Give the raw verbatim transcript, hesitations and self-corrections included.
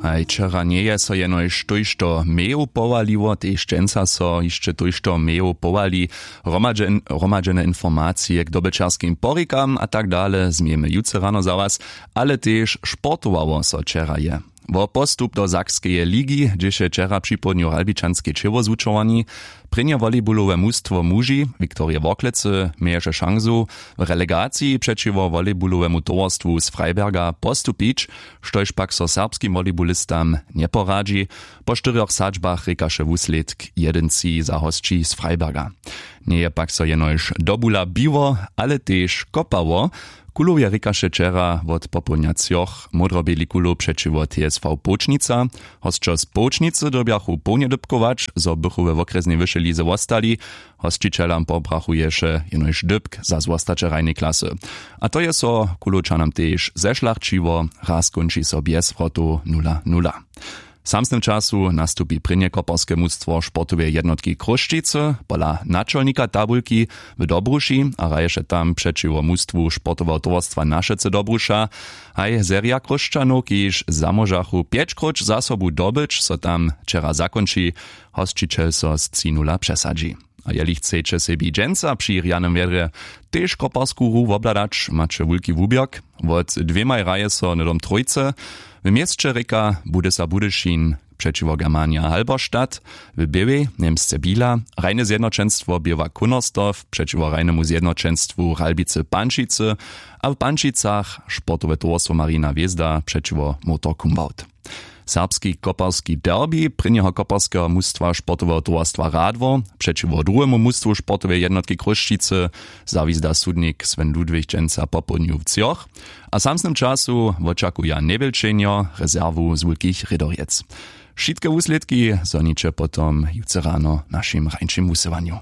Haj wčera njeje so jenož tójšto mejow powaliło, tež dźensa so hišće tójšto mejow powali. Hromadźene informacije k dobyćerskim porikam a tak dale změjemy jutře rano za was. Ale tež sportowało so wčera je. Wo postup do sakskeje ligi, hdźež je wčera připołdnju ralbičanske ćěło zwučowani. Prěnje volejbulowe mustwo muži wiktorije worklecy měješe šansu w relegaciji přećiwo volejbulowemu towarstwu z freiberga postupić, štož pak so serbskim volejbulistam njeporadźi. Po štyrjoch sadźbach rěkaše wuslědk jedyn tři za hosći z freiberga. Njeje pak so jenož dobula biło, ale tež kopało. Kulowje rěkaše wčera wot popołdnja třoch módroběli kulow přećiwo tsv połčnica. Hosćo z połčnicy dyrbjachu połnje dypkować zo bychu we wokrjesnej wyšej lize wostali. Hosćićelam pobrachuješe jenož dypk za zwostaće hrajnej klasy. A to je so kulowčanam tež zešlachćiło. Raz kónči so bjez wrotow nula nula. W samsnym času nastupi prěnje koperske mustwo sportoweje jednotki chrósćicy pola načolnika tabulki w dobruši a hraješe tam přećiwo mustwu sportoweho towarstwa našecy dobruša. Haj serija chrósćanow kiž zamóžachu pjećkróć za sobu dobyć so tam wčera zakónči. Hosćićel so z tři nula přesadźi. A jeli chceće sebi dźensa při rjanym wjedrje tež koparsku hru wobhladać maće wulki wuběrk. Wot dwěmaj hraje so hnydom trójce. W měsće rěka budysa budyšin přećiwo germanja halberstadt, w běłej němsce bila hrajne zjednoćenstwo běła kunnersdorf přećiwo hrajnemu zjednoćenstwu ralbicy pančicy, a w pančicach sportowe towarstwo marina hwězda přećiwo motor kumbaut. Serbski koperski derbi prěnjeho koperskeho mustwa sportoweho towarstwa radwor přećiwo druhemu mustwu sportoweje jednotki chrósćicy zawizda sudnik sven ludwig dźensa popołdnju w třoch. A w samsnym času wočakuja njewjelčenjo rezerwu z wulkich rědorjec. Wšitke wuslědki zhoniće potom jutře rano w našim rańšim wusyłanju.